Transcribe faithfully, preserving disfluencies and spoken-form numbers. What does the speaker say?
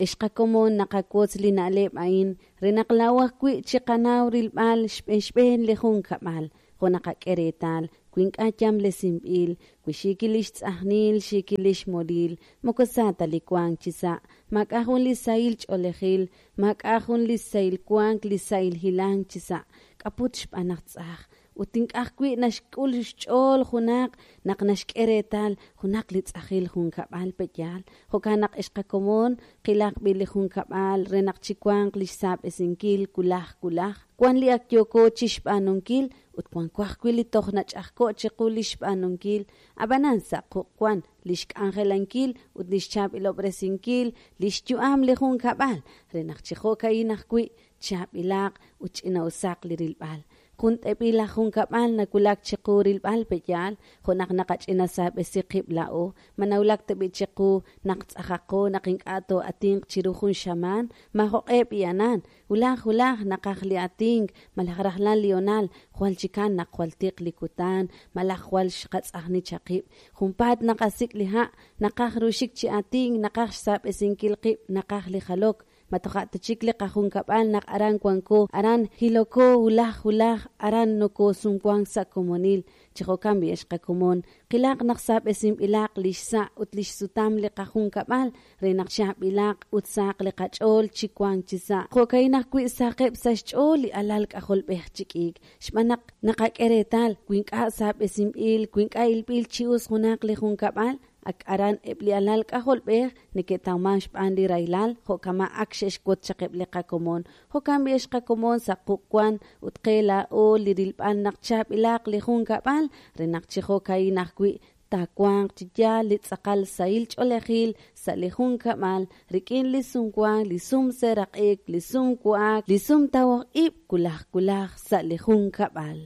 Ex qakomon naqawotz li na'leb' a'in re naq laa'o ajwi' chiqanaw rilb'al xb'enxb'een li junkab'al, jo' naqak'e reetal wi ink'a' yamlesinb'il, wi xiikil li xtz'ajnil, xiikil li xmolil, moko sa ta li wank chi sa', maak'a' jun li sahil ch'oolejil, maak'a' jun li sahil wank, li sahil hilank chi sa', k'aput xb'aan naq tz'aj. Ut ink'a' ajwi' naxk'ul xch'ool junaq naq naxk'e reetal junaq li tz'ajil junkab'al pe'yaal. Jo'kan naq ex qakomon qilaq b'i li junkab'al re naq chiwanq li xsaab'esinkil wulaj wulaj. Wan li ak yooko chi xb'aanunkil ut wanko ajwi' li toj nach'ajko' chiqu li xb'aanunkil, ab'anan sa' quq' wan li xk'anjelankil ut li xchaab'ilob'resinkil li xyu'am li junkab'al re naq chi jo'ka'in ajwi' chaab'ilaq ut ch'ina'usaq li rilb'al. Jun t'eb'il laj junkab'al nawulak chiqu rilb'al pe'yaal, jo' naq naqach'inasaab'esi qib' laa'o, ma nawulak tab'i chiqu naq tz'ajaqo naq ink'a' too'atinq chiru jun xamaan, maajoq'e b'i'anan, wulaj wulaj naqaj li atink, malaj rajlal li honal, jwal chikan naq jwal tiq li kutan, malaj jwal xqatz'ajni chaqib'. Junpaat naqasik' li ha', naqaj ruxik chi atink, naqaj xsaab'esinkil qib', naqaj li jalok. Ma toja' ta chik li qajunkab'al naq aran wanko, aran hiloko wulaj wulaj, aran nokosumwank sa' komonil. Chi jo'kan b'i ex qakomon, qilaq naq saab'esinb'ilaq li xsa' ut li xsutam li qajunkab'al re naq chaab'ilaq ut saq li qach'ool chi wank chi sa'. Jo'ka'in ajwi' saqeb' sa' xch'ool li alal k'ajolb'ej chi k'iik, xb'aan naq naqak'e reetal wi ink'a' saab'esinb'il, wi ink'a' ilb'il chi us junaq li junkab'al, ak aran eb' li alal k'ajolb'ej neke'tawman xb'aan li rahilal, jo'kama' ak xe'xwotz chaq eb' li qakomon. Jo'kan b'i ex qakomon sa' quq' wan ut qe laa'o li rilb'al naq chaab'ilaq li junkab'al re naq chi jo'ka'in ajwi' taawanq chi yaal li tz'aqal sahil ch'oolejil sa' li junkab'al rik'in li sumwank, li sumseeraq'ik, li sumwa'ak, li sumtawok ib' wulaj wulaj sa' li junkab'al.